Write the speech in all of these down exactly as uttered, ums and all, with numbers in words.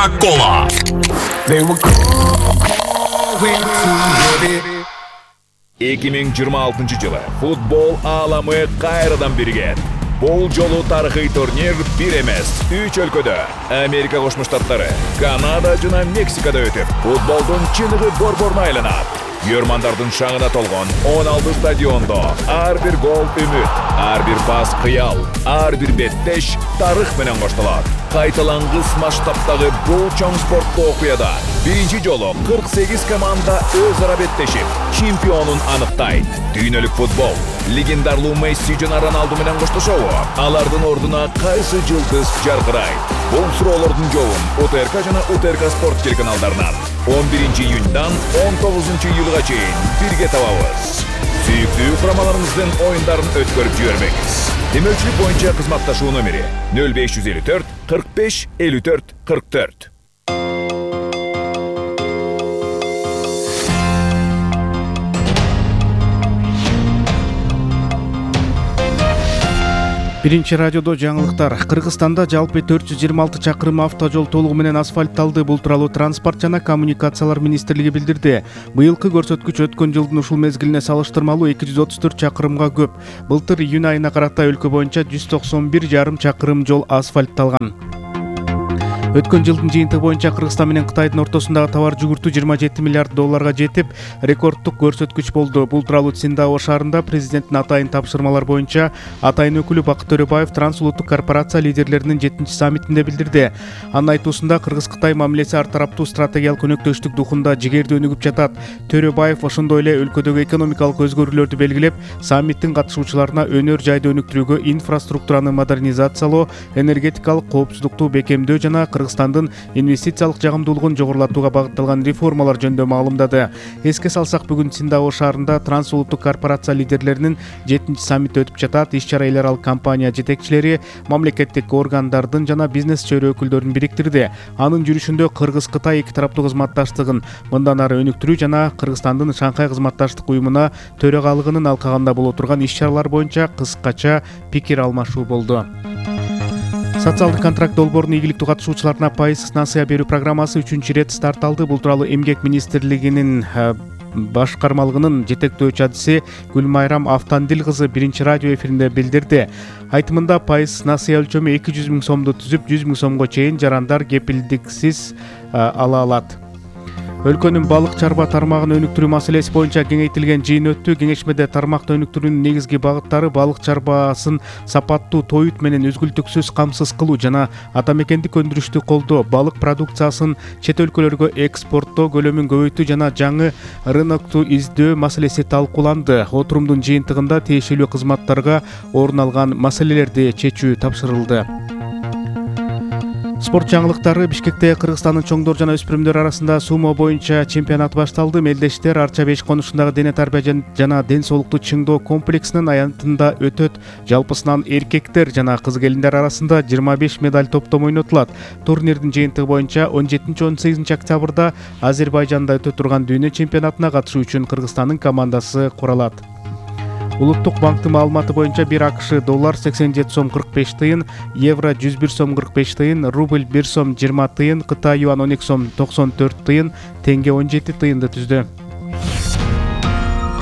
Coca-Cola. эки миң жыйырма алтынчы жылы футбол ааламы кайрадан бирген. Бул жолу тарыхый турнир бир эмес, үч өлкөдө Америка Кошмо Штаттары, Канада жана Мексикада өтүп, футболдун чыныгы борборуна айланат. Көрмандардын шаңына толгон он алты стадиондо ар бир гол үмүт, ар бир пас кыял, ар бир беттеш тарых менен коштолот. Кайталангыс масштабтагы бул чоң спорттуу окуяда биринчи жолу кырк сегиз команда өз ара беттешип, чемпионун аныктайт. Дүйнөлүк футбол легендарлуу Месси жана Роналду менен коштошобу? Алардын ордуна кайсы жылдыз жаркырайт? Бул суроолордун жообун УТРК жана УТРК спорт телеканалдарынан он биринчи июньдан он тогузунчу июлга чейин бирге табабыз. Сүйүктүү курамаларыбыздын оюндарын өткөрүп жибербеңиз. Демөөлчүлүк боюнча кызматташуу номери нөл беш жүз элүү төрт кырк беш элүү төрт кырк төрт. Биринчи радиодо жаңылыктар. Кыргызстанда жалпы төрт жүз жыйырма алты чакырым автожол толугу менен асфальтталды. Бул тууралуу Транспорт жана коммуникациялар министрлиги билдирди. Быйылкы көрсөткүч өткөн жылдын ушул мезгилине салыштырмалуу эки жүз отуз төрт чакырымга көп. Былтыр июнь айына карата өлкө боюнча жүз токсон бир жарым чакырым жол асфальтталган. Өткөн жылдын жыйынтыгы боюнча Кыргызстан менен Кытайдын ортосундагы товар жүгүртүү жыйырма жети миллиард долларга жетип, рекорддук көрсөткүч болду. Бул тууралуу Циндао шаарында президенттин атайын тапшырмалар боюнча атайын өкүлү Бакыт Төрөбаев трансулуттук корпорация лидерлеринин жетинчи саммитинде билдирди. Анын айтуусунда Кыргыз-Кытай мамилеси ар тараптуу стратегиялык өнөктөштүк духунда жигердүү өнүгүп жатат. Төрөбаев ошондой эле өлкөдөгү экономикалык өзгөрүүлөрдү белгилеп, саммиттин катышуучуларына өнөр жайды өнүктүрүүгө, инфраструктураны модернизациялоо, энергетикалык коопсуздукту бекемдөө жана Кыргызстандын инвестициялык жагымдуулугун жогорулатууга багытталган реформалар жөнүндө маалымдады. Эске салсак, бүгүн Циндао шаарында трансулуттук корпорация лидерлеринин жетинчи саммити өтүп жатат. Иш-чара эл аралык компания жетекчилери, мамлекеттик органдардын жана бизнес чөйрө өкүлдөрүн бириктирди. Анын жүрүшүндө Кыргыз-Кытай эки тараптуу кызматташтыгын мындан ары өнүктүрүү жана Кыргызстандын Шанхай кызматташтык уюмуна төрагалыгынын алкагында боло турган иш-чаралар боюнча кыскача пикир алмашуу болду. Социалдык контракт долбоорунун ийгиликтүү катышуучуларына пайыз насыя берүү программасы үчүнчү ирет старт алды. Бул тууралуу Эмгек министрлигинин башкармалыгынын жетектөөчү адиси Гүлмайрам Автандил кызы биринчи радио эфиринде билдирди. Айтымында пайыз насыя өлчөмү эки жүз миң сомду түзүп, жүз миң сомго чейин жарандар кепилдиксиз ала алат. Өлкөнүн балык чарба тармагын өнүктүрүү маселеси боюнча кеңейтилген жыйын өттү. Кеңешмеде тармакты өнүктүрүүнүн негизги багыттары балык чарбасын сапаттуу, тоют менен үзгүлтүксүз камсыз кылуу жана ата мекендик өндүрүштү колдоо, балык продукциясын чет өлкөлөргө экспорттоо көлөмүн көбөйтүү жана жаңы рынокту издөө маселеси талкууланды. Отурумдун жыйынтыгында тиешелүү кызматтарга орун алган маселелерди чечүү тапшырылды. Спорт жаңылыктары. Бишкекте Кыргызстандын чоңдор жана өспүрүмдөр арасында сумо боюнча чемпионат башталды. Мелдештер Арча беш конушундагы дене тарбия жана ден соолукту чыңдоо комплексинин аянтында өтөт. Жалпысынан эркектер жана кыз келиндер арасында жыйырма беш медаль топтому ойнотулат. Турнирдин жыйынтыгы боюнча он жетинчи он сегизинчи октябрда Азербайжанда өтө турган дүйнө чемпионатына катышуу үчүн Кыргызстандын командасы куралат. Улуттук банктын маалыматы боюнча бир АКШ доллар сексен жети сом кырк беш тыйын, евро жүз бир сом кырк беш тыйын, рубль бир сом жыйырма тыйын, Кытай юан он эки сом токсон төрт тыйын, теңге он жети тыйынды түздү.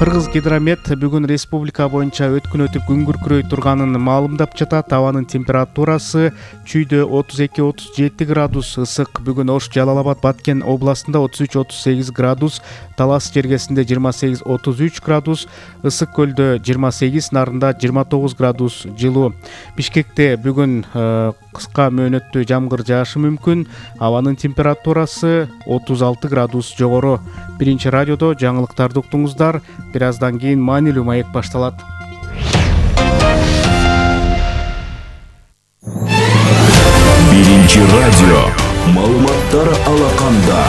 Кыргыз гидромет бүгүн республика боюнча өткүн өтүп күн күркүрөй турганын маалымдап жатат. Абанын температурасы чүйдө отуз эки отуз жети градус ысык. Бүгүн Ош, Жалал Абад, Баткен областында отуз үч отуз сегиз градус, Талас жергесинде жыйырма сегиз отуз үч градус, Ысык көлдө жыйырма сегиз, Нарында жыйырма тогуз градус жылуу. Бишкекте бүгүн кыска мөөнөттүү жамгыр жаашы мүмкүн. Абанын температурасы отуз алты градус жогору. Биринчи радиодо жаңылыктарды уктуңуздар. Бир аздан кийин маанилүү маек башталат. Биринчи радио. Маалыматтар алаканда.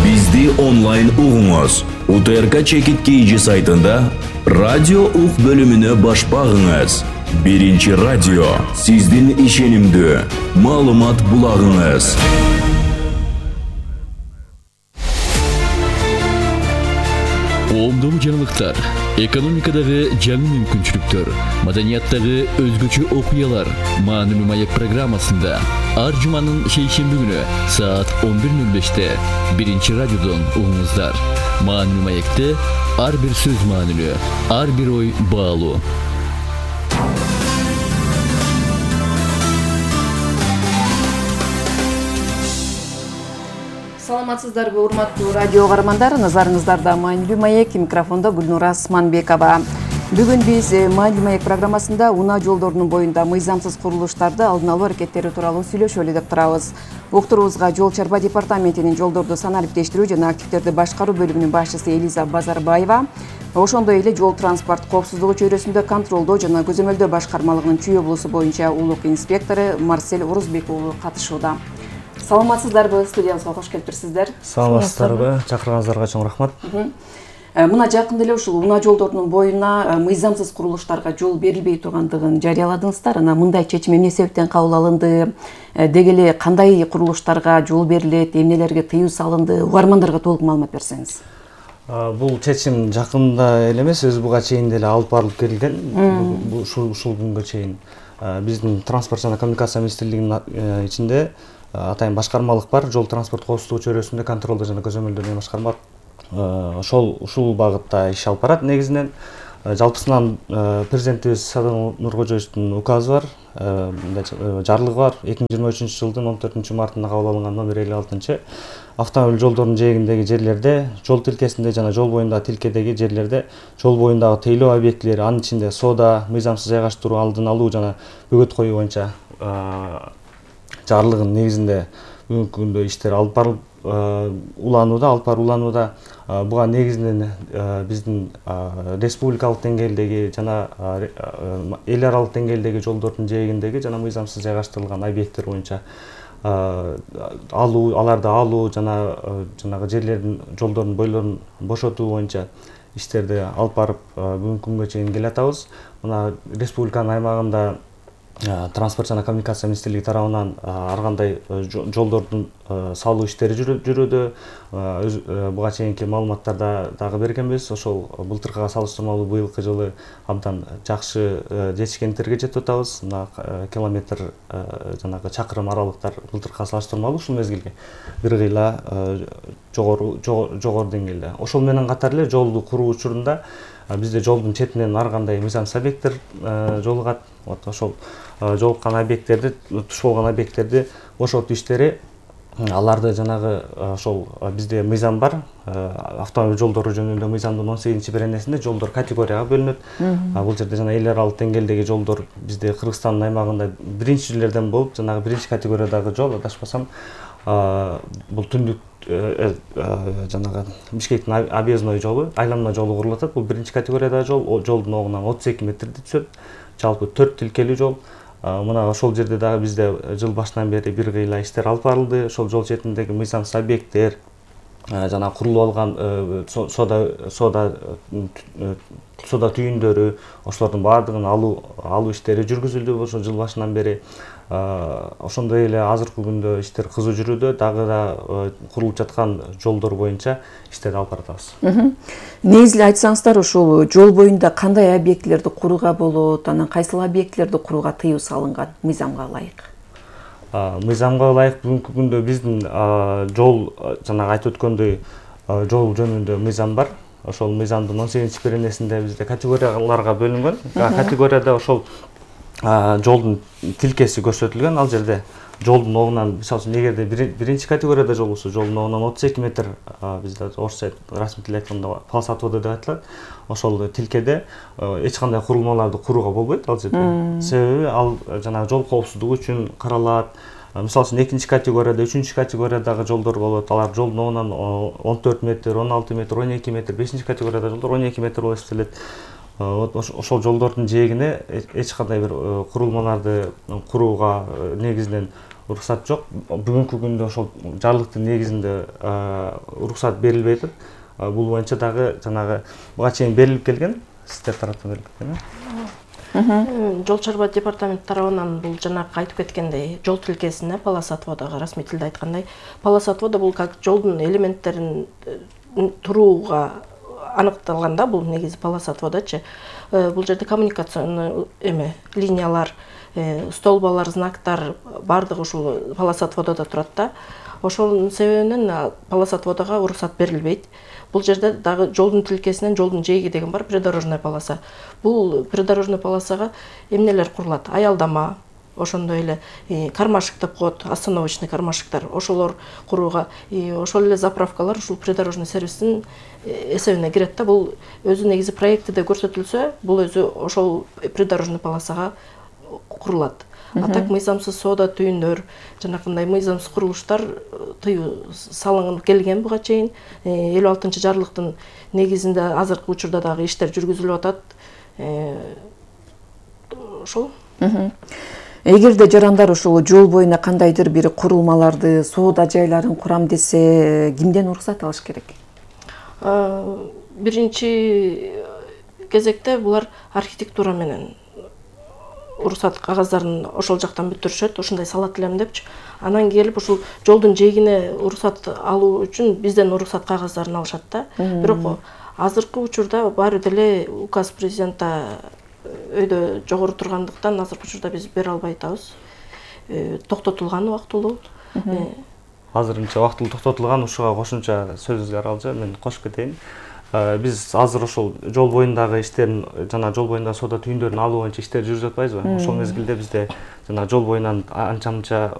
Бизди онлайн угуңуз. УТРК Чекит Кийжи сайтында радио ук бөлүмүнө баш багыңыз. Биринчи радио. Сиздин ишенимдүү маалымат булагыңыз. Коомдун жаңылыктар, экономикадагы жаңы мүмкүнчүлүктөр, маданияттагы өзгөчө окуялар Маанилүү маек программасында ар жуманын шейшемби күнү саат он бир ноль беште биринчи радиодон угуңуздар. Маанилүү маекте ар бир сөз маанилүү, ар бир ой баалуу. Саламатсыздарбы, урматтуу радио каармандар, назарыңыздарда Маанилүү маек, микрофондо Гүлнура Асманбекова. Бүгүн биз Маанилүү маек программасында унаа жолдорунун боюнда мыйзамсыз курулуштарды алдын алуу аракеттери тууралуу сүйлөшөлү деп турабыз. Уктуруубузга Жол чарба департаментинин жолдорду санариптештирүү жана активдерди башкаруу бөлүмүнүн башчысы Элиза Базарбаева, ошондой эле жол транспорт коопсуздугу чөйрөсүндө контролдоо жана көзөмөлдөө башкармалыгынын Чүй облусу боюнча улук инспектору Марсель Орузбек уулу катышууда. Саламатсыздарбы, студиябызга кош келиптирсиздер. Саламатсыздарбы, чакырганыңыздарга чоң рахмат. Мына жакында эле ушул унаа жолдорунун боюна мыйзамсыз курулуштарга жол берилбей тургандыгын жарыяладыңыздар. Анан мындай чечим эмне себептен кабыл алынды? Деги эле кандай курулуштарга жол берилет, эмнелерге тыюу салынды? Угармандарга толук маалымат берсеңиз. Бул чечим жакында эле эмес, өзү буга чейин деле алып барылып келген. Ушул ушул күнгө чейин биздин транспорт жана коммуникация министрлигинин ичинде атайын башкармалык бар, жол транспорт коопсуздугу чөйрөсүндө контролдоо жана көзөмөлдөө башкарма ошол ушул багытта иш алып барат. Негизинен жалпысынан президентибиз Садыр Нуркожоевдун указы бар, жарлыгы бар. эки миң жыйырма үчүнчү жылдын он төртүнчү мартында кабыл алынган номер элүү алтынчы. Автомобиль жолдорунун жээгиндеги жерлерде, жол тилкесинде жана жол боюндагы тилкедеги жерлерде жол боюндагы тейлөө объектилери, анын ичинде соода, мыйзамсыз жайгаштыруу, алдын алуу жана бөгөт коюу боюнча жарлыгынын негизинде бүгүнкү күндө иштер алып барылып уланууда, алып барып уланууда. Буга негизинен биздин республикалык деңгээлдеги жана эл аралык деңгээлдеги жолдордун жээгиндеги жана мыйзамсыз жайгаштырылган объекттер боюнча алуу, аларды алуу жана жанагы жерлердин, жолдордун бойлорун бошотуу боюнча иштерди алып барып бүгүнкү күнгө чейин келатабыз. Мына республиканын аймагында транспорт жана коммуникация министрлиги тарабынан ар кандай жолдордун салуу иштери жүрүүдө. Буга чейинки маалыматтарда дагы бергенбиз. Ошол былтыркыга салыштырмалуу быйылкы жылы абдан жакшы жетишкендерге жетип атабыз. Мына километр жанагы чакырым аралыктар былтыркыга салыштырмалуу ушул мезгилге бир кыйла жогору жогору деңгээлде. Ошол менен катар эле жолду куруу учурунда бизде жолдун четинен ар кандай мыйзамсыз объекттер жолугат. Вот ошол жолуккан объекттерди, туш болгон объекттерди бошотуу иштери, аларды жанагы ошол бизде мыйзам бар. Автомобиль жолдору жөнүндө мыйзамдын он сегизинчи беренесинде жолдор категорияга бөлүнөт. Бул жерде жана эл аралык деңгээлдеги жолдор бизде Кыргызстандын аймагында биринчилерден болуп, жанагы биринчи категориядагы жол, адашпасам, бул түндүк жанагы Бишкектин объездной жолу, айланма жолу курулуп атат. Бул биринчи категориядагы жол, жолдун огунан отуз эки метрди түшөт. Жалпы төрт тилкелүү жол. Мына ошол жерде дагы бизде жыл башынан бери бир кыйла иштер алып барылды. Ошол жол четиндеги мыйзамсыз объекттер, жана курулуп алган соода соода соода түйүндөрү, ошолордун баардыгын алуу алуу иштери жүргүзүлдү ошол жыл башынан бери. Ошондой эле азыркы күндө иштер кызуу жүрүүдө, дагы да курулуп жаткан жолдор боюнча иштерди алып баратабыз. Негизи эле айтсаңыздар, ушул жол боюнда кандай объектилерди курууга болот, анан кайсыл объектилерди курууга тыюу салынган мыйзамга ылайык? Мыйзамга ылайык бүгүнкү күндө биздин жол, жанагы айтып өткөндөй, жол жөнүндө мыйзам бар. Ошол мыйзамдын он сегизинчи беренесинде бизде категорияларга бөлүнгөн. Категорияда ошол жолдун тилкеси көрсөтүлгөн. Ал жерде жолдун огунан, мисалы үчүн, эгерде биринчи категорияда жол болсо, жолдун огунан отуз эки метр, бизде орусча расмий тил айтканда полосатвода деп айтылат. Ошол тилкеде эч кандай курулмаларды курууга болбойт ал жерде. Себеби ал жанагы жол коопсуздугу үчүн каралат. Мисалы үчүн экинчи категорияда, үчүнчү категориядагы жолдор болот. Алар жолдун огунан он төрт метр, он алты метр, он эки метр, бешинчи категорияда жолдор он эки метр болуп эсептелет. Ошол жолдордун жээгине эч кандай бир курулмаларды курууга негизинен уруксат жок. Бүгүнкү күндө ошол жарлыктын негизинде уруксат берилбей атат. Бул боюнча дагы жанагы буга чейин берилип келген, сиздер тараптан берилип келген. Жол чарба департамент тарабынан бул жанакы айтып кеткендей, жол тилкесине полосатводага расмий тилде айткандай, полосатвода бул как жолдун элементтерин турууга аныкталганда, бул негизи полоса отводочу, бул жерде коммуникационный эме линиялар, столбалар, знактар баардыгы ушул полоса отвододо турат да. Ошонун себебинен полоса отводого уруксат берилбейт. Бул жерде дагы жолдун тилкесинен жолдун жээги деген бар, придорожная полоса. Бул придорожный полосага эмнелер курулат? Аялдама, ошондой эле кармашык деп коет, остановочный кармашыктар, ошолор курууга, ошол эле заправкалар ушул придорожный сервистин эсебине кирет да. Бул өзү негизи проектиде көрсөтүлсө, бул өзү ошол придорожный полосага курулат. А так мыйзамсыз соода түйүндөр, жанакындай мыйзамсыз курулуштар тыюу салынып келген буга чейин. элүү алтынчы жарлыктын негизинде азыркы учурда дагы иштер жүргүзүлүп атат. Ошол. Эгерде жарандар ушул жол боюна кандайдыр бир курулмаларды, соода жайларын курам десе, кимден уруксат алыш керек? Биринчи кезекте булар архитектура менен уруксат кагаздарын ошол жактан бүтүрүшөт, ушундай салат элем депчи. Анан келип ушул жолдун жээгине уруксат алуу үчүн бизден уруксат кагаздарын алышат да. Бирок азыркы учурда баары деле указ президента өйдө жогору тургандыктан азыркы учурда биз бере албай атабыз. Токтотулган убактылуу. Азырынча убактылуу токтотулган, ушуга кошумча сөзүңүзгө аралжа мен кошуп кетейин. Биз азыр ошол жол боюндагы иштерин, жана жол боюндагы соода түйүндөрүн алуу боюнча иштер жүргүзүп атпайбызбы? Ошол мезгилде бизде жана жол боюнан анча-мынча